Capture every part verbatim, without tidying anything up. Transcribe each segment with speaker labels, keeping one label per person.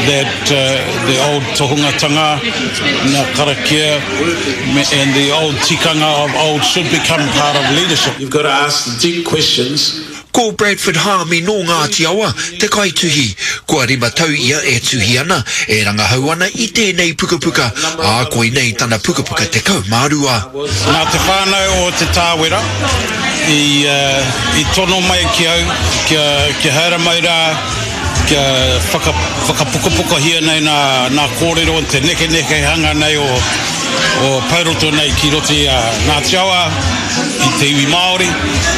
Speaker 1: that uh, the old tohungatanga, ngā karakia, and the old tikanga of old should become part of leadership. You've got to ask the deep questions.
Speaker 2: Ko Bradford Haami nō Ngāti Awa, te kaituhi. Kua rima tau ia e tuhi ana, e rangahau ana i tēnei pukapuka, ā koinei tana pukapuka tekau mā rua.
Speaker 1: Nā te whānau o Te Tāwera i, uh, i tono mai ki au, kia, kia haere mai rā, kia whaka, whakapukapukahia nei nā, nā kōrero te nekenekehanga nei o, o Pouroto nei ki roto i a Ngāti Awa, i te iwi Māori,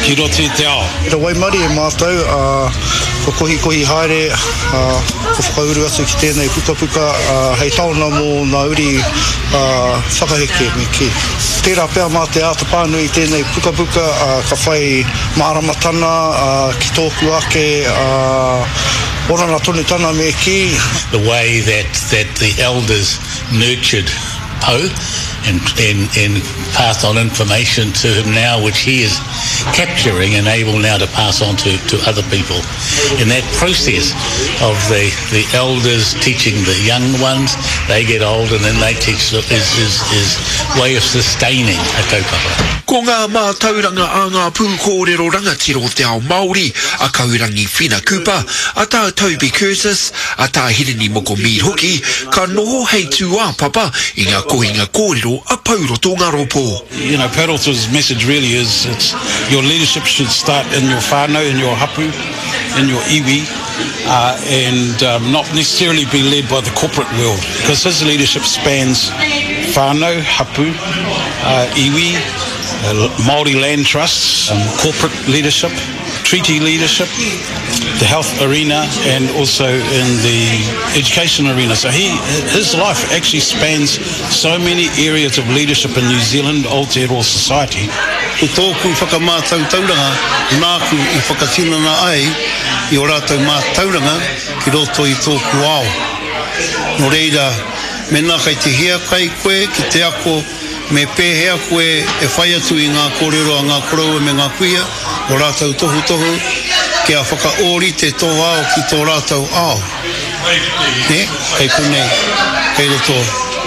Speaker 1: ki roto i te ao.
Speaker 3: Te waimarie mātou, uh, ko kohikohi haere, uh, ko whakauru atu ki tēnei pukapuka uh, hei taona mō ngā uri uh, whakaheke me kī. Tērā pea mā te āta pānui i tēnei pukapuka uh, ka whai māramatana uh, ki tōku ake uh, oranga tonutanga me kī.
Speaker 4: The way that, that the elders nurtured Pou and, and, and passed on information to him now, which he is capturing and able now to pass on to, to other people. In that process of the, the elders teaching the young ones, they get old and then they teach, is, is, is way of sustaining a kaupapa.
Speaker 2: Ko ngā mātauranga a ngā pūkōrero rangatira o te ao Māori, a Kaurangi Whina Cooper, a tā Toby Curtis, a tā Hirini Moko Mead hoki, ka noho hei tūāpapa i ngā kohinga kōrero a Pouroto Ngaropo.
Speaker 1: You know, Pouroto's message really is it's your leadership should start in your whānau, in your hapu, in your iwi, uh, and um, not necessarily be led by the corporate world, because his leadership spans whānau, hapu, uh, iwi, uh, Māori land trusts, um, corporate leadership, treaty leadership, the health arena, and also in the education arena. So he, his life actually spans so many areas of leadership in New Zealand, Aotearoa society.
Speaker 5: Ko tōku whakamātautauranga nāku i whakatinana ai i o rātou mātauranga ki roto i tōku ao. Nō reira, mēnā kei te hiakai koe ki te ako me pēhea koe e whai atu i ngā kōrero a ngā koroua me ngā kuia o rātou tohutohu kia whakaōrite tō ao ki tō rātou ao. Ne? Kei konei, kei roto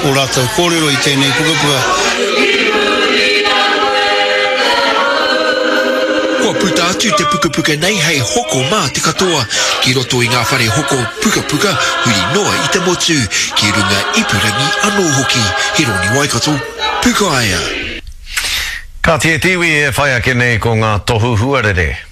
Speaker 5: o rātou kōrero i tēnei pukapuka.
Speaker 2: Kua puta atu te pukapuka nei hei hoko mā te katoa ki roto i ngā whare hoko pukapuka huri noa i te motu, ki runga ipurangi anō hoki. Hironi Waikato, Pukaia.
Speaker 6: Ka tie te iwi e whai ake nei ko ngā tohu huarere.